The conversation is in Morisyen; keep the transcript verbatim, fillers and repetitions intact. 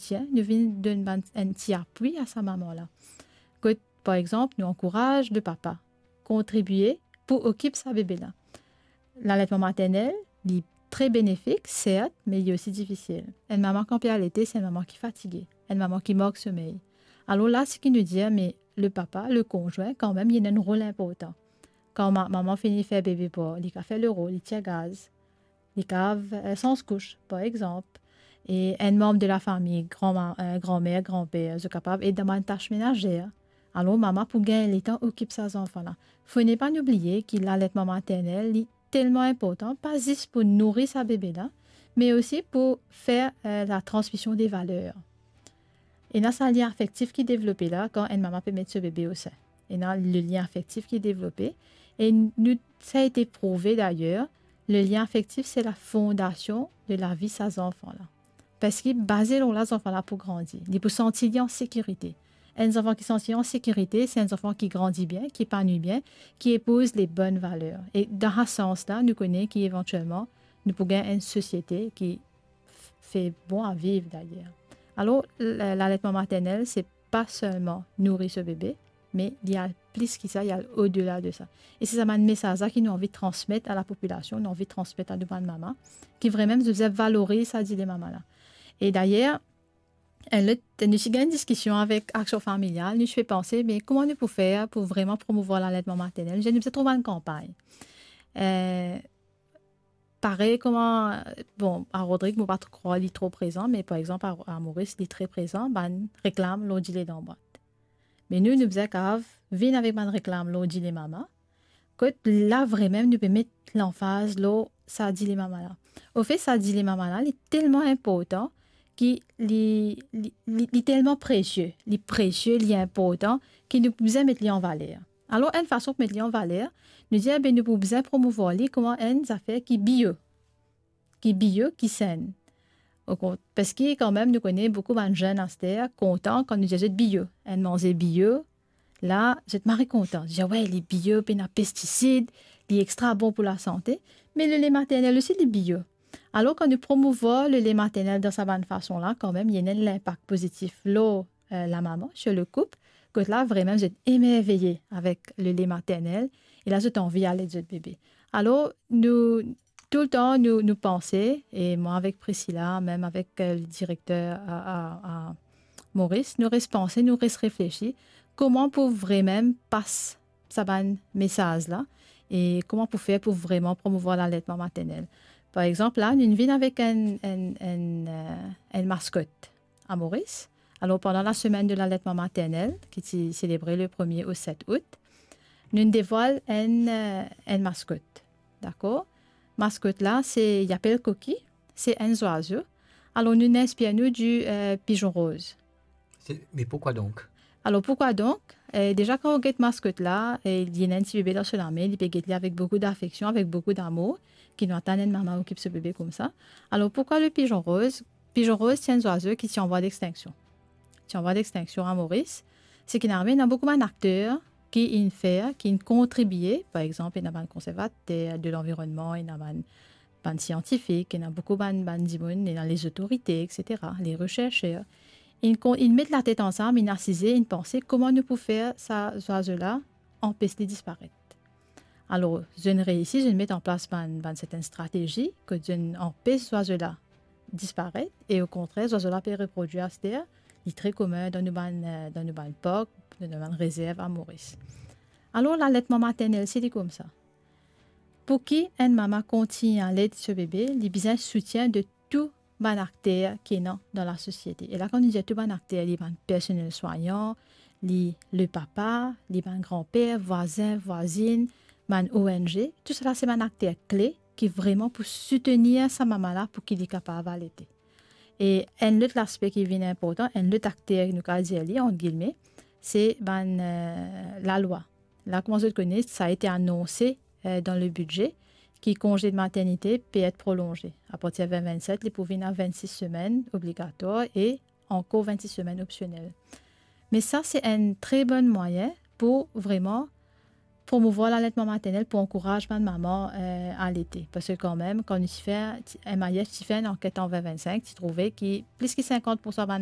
soutien, nou vinn donn bann, enn ti apwi a sa mama la. Kot, par exanp, nou ankouraz le papa kontribie pou okip sa bebe la. Laletman maternel, li tre benefik, sert, me li osi difisil. Enn mama kan pe alete, se enn mama ki fatige, enn mama ki mank somey. Alor la, seki nou dir, me le papa, le konzwin, kanmem, li ena enn rol inportan. Kan ma-, mama fini fer bebe par, li kav fer le rol, li tir gaz, li kav, eh, sanz kous, par exanp. E enn manm de lafami, granma-, eh, granmer, granper, zot kapav ed dan bann tas menazer. Alor, mama pou gagn letan okip sa zanfan la. Fode pa nou bliye ki laletman maternel, li telman inportan, pa zis pou nouri sa bebe la, me osi pou fer, eh, la transmision de valer. Ena sa lien afektif ki devlope la kan enn mama pe met so bebe o sin. Ena le lien afektif ki devlope. E nou, sa ete prouve dayer, le lien afektif, se la fondasion de lavi sa zanfan la. Parski baze lor la, zanfan la pou grandi, li pou santi li an sekirite. Enn zanfan ki santi an sekirite, se enn zanfan ki grandi bien, ki epanwi bien, ki epouz le bonn valer. E dan sa sans la, nou kone ki evantielman, nou pou gagn enn sosiete ki f-, fer bon a viv dayer. Alor, la-, laletman maternel, se pa selman nouri so bebe, me li al plis ki sa, li al odela de sa. E se sa bann mesaz la ki nou anvi transmet a lapopilasion, nou anvi transmet a nou bann mama, ki vremem zot bizin valoriz sa dile mama la. E dayer, enn lot, nou ti gagn diskision avek Aksion Familial, nou ti pe panse, me kouma nou pou fer pou vreman promouvwar laletman maternel? Nou bizin trouv enn kanpagn. Eh, parey kouma, bon, a Rodrig, mo pa tro krwar li tro prezan, me par exanp, a, a Moris, li tre prezan, bann reklam lor dile dan bwat. Me nou, nou bizin kav vinn avek bann reklam lor dile mama, kot la vremem nou pe met lanfaz lor sa dile mama la. Anfet, sa dile mama la, li telman inportan ki li, li, li, li telman presie, li presie, li inportan, ki nou bizin met li an valer. Alor, enn fason pou met li an valer, nou dir, be, nou pou bizin promouvwar li kouma enn zafer ki bio, ki bio, ki senn. Okont-, parski kanmem, nou kone boukou bann zenn aster kontan kan nou dir zot bio. Enn manze bio, la, zot mari kontan. Dir, we, li bio, pena pestisid, li extra bon pou lasante. Me lele maternel osi, li bio. Alor, kan nou promouvwar lele maternel dan sa bann fason la, kanmem, li ena enn linpak pozitif lor, eh, lamama, sir le koup, kot la, vremem, zot emerveye avek lele maternel, e la, zot anvi al ed zot bebe. Alor, nou, toultan, nou, nou panse, e mwa avek Priscilla, mem avek, eh, le direkter a, a, a Moris, nou res panse, nou res reflesi, kouma pou vremem pas sa bann mesaz la, e kouma pou fer pou vreman promouvwar laletman maternel. Par exanp, la, nou vinn avek enn, enn, enn, eh, enn maskot a Moris. Alor, pandan lasemenn de laletman maternel, ki ti selebre le premie o set out, nou devwal enn, eh, enn maskot. Dakor? Maskot la, se, li apel Koki, se enn zwazo. Alor, nou inspir nou di, eh, pizon roz. Se, me pourkwa donk? Alor, pourkwa donk? Eh, deza, kan ou get maskot la, eh, li ena enn ti bebe dan so lame, li pe get li avek boukou dafeksion, avek boukou damour, ki nou atann enn mama okip so bebe koumsa. Alor, pourkwa le pizon roz? Pizon roz, se enn zwazo ki ti an vwa dextinksion. Ti an vwa dextinksion a Moris. Seki ena, ena boukou bann akter ki inn fer, ki inn kontribie, par exanp, ena bann konservater de lanvironnman, ena bann, bann siantifik, ena boukou bann, bann dimoun, ena lezotorite, et cetera, le reserser. Inn kon-, inn met latet ansam, inn asize, inn panse kouma nou pou fer sa zwazo la anpes li disparet. Alor, zot inn reisi, zot inn met an plas bann, bann sertenn stratezi, kot zot inn anpes zwazo la disparet, e okontrer, zwazo la pe reprodwir aster, li tre komin dan nou bann, eh, dan nou bann park, dan nou bann rezerv a Moris. Alor, laletman maternel, se li koumsa. Pou ki enn mama kontign al ed so bebe, li bizin soutien de tou bann akter ki ena dan lasosiete. E la, kan nou dir tou bann akter, li bann personel swayan, li le papa, li bann granper, vwazin, vwazinn, bann O N G, tousala se bann akter kle ki vreman pou soutenir sa mama la pou ki li kapav alete. E enn lot laspe ki vinn inportan, enn lot akter nou kapav dir li, ant gilme, se bann, eh, lalwa. La, kouma zot kone, sa ete anonse, eh, dan le bidze, ki konze de maternite pe et prolonze. Apartir vin vinn set, li pou vinn a vinn sis semenn obligatwar e ankor vinn sis semenn opsionel. Me sa, se enn tre bon mwayin pou vreman promouvwar laletman maternel, pou ankouraz bann mama, eh, alete. Parski kanmem, kan nou ti fer, ti, M I F ti fer enn anket an vin vinn sink, ti trouve ki plis ki sinkant poursan bann